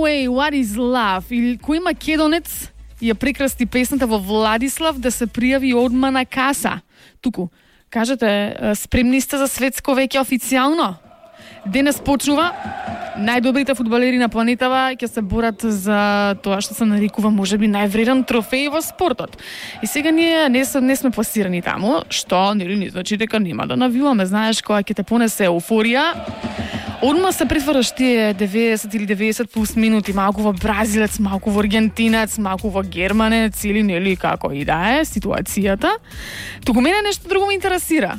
Anyway, what is love? Или кој македонец ја прекрасти песната во Владислав да се пријави одма на каса? Туку, кажете, спремни сте за светско веќе официјално? Денес почнува, најдобрите фудбалери на планетава ќе се борат за тоа што се нарекува можеби највреден трофеј во спортот. И сега ние не сме пласирани таму, што нели не значи дека нема да навиваме, знаеш, кога ќе те понесе еуфорија. Одма се претвараш тие 90 или 90 плюс минути, малку во бразилец, малку во аргентинец, малку во германец или нели како и да е ситуацијата. Туку мене нешто друго ме интересира.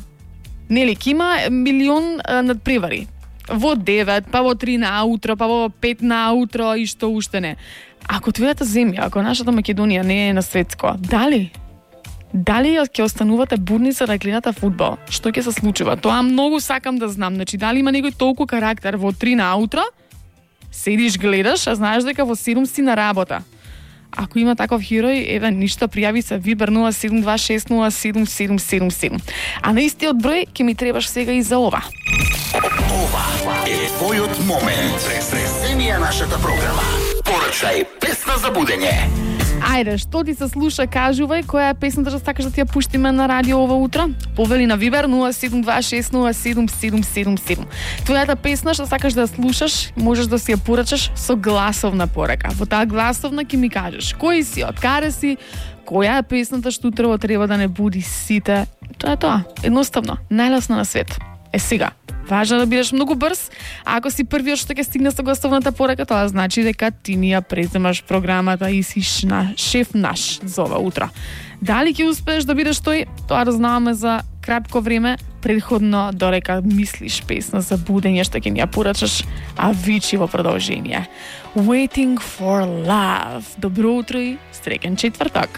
Нели, ки има милион надпревари. Во 9, па во 3 наутро, па во 5 наутро и што уште не. Ако твојата земја, ако нашата Македонија не е на светско, дали ќе останувате будни за да гледате фудбал? Што ќе се случува? Тоа многу сакам да знам. Значи, дали има некој толку карактер во 3 наутро? Седиш, гледаш, а знаеш дека во 7 си на работа. Ако има таков херој, еве ништо, пријави се Вибер 0726077777. А на истиот број ќе ми требаш сега и за ова. Ова е твојот момент. Преземија нашата програма. Порачај песна за будење. Ајде, што ти се слуша, кажувај која е песната што сакаш да ти ја пуштиме на радио ова утро? Повели на Вибер 0726077777. Твојата песна што сакаш да ја слушаш, можеш да си ја порачаш со гласовна порака. Во таа гласовна ќе ми кажеш кој си, од каде си, која е песната што утрово треба да не буди сите. Тоа е тоа. Едноставно, најлесно на свет. Сега, важно да бидеш многу брз, а ако си првиот што ќе стигне со гласовната порака, тоа значи дека ти ни ја преземаш програмата и си шеф наш за ова утро. Дали ќе успееш да бидеш тој, тоа да знаваме за кратко време, предходно дорека мислиш песна за будење што ќе ни ја порачаш, а вичи во продолжение. Waiting for love. Добро утро и среќен четврток.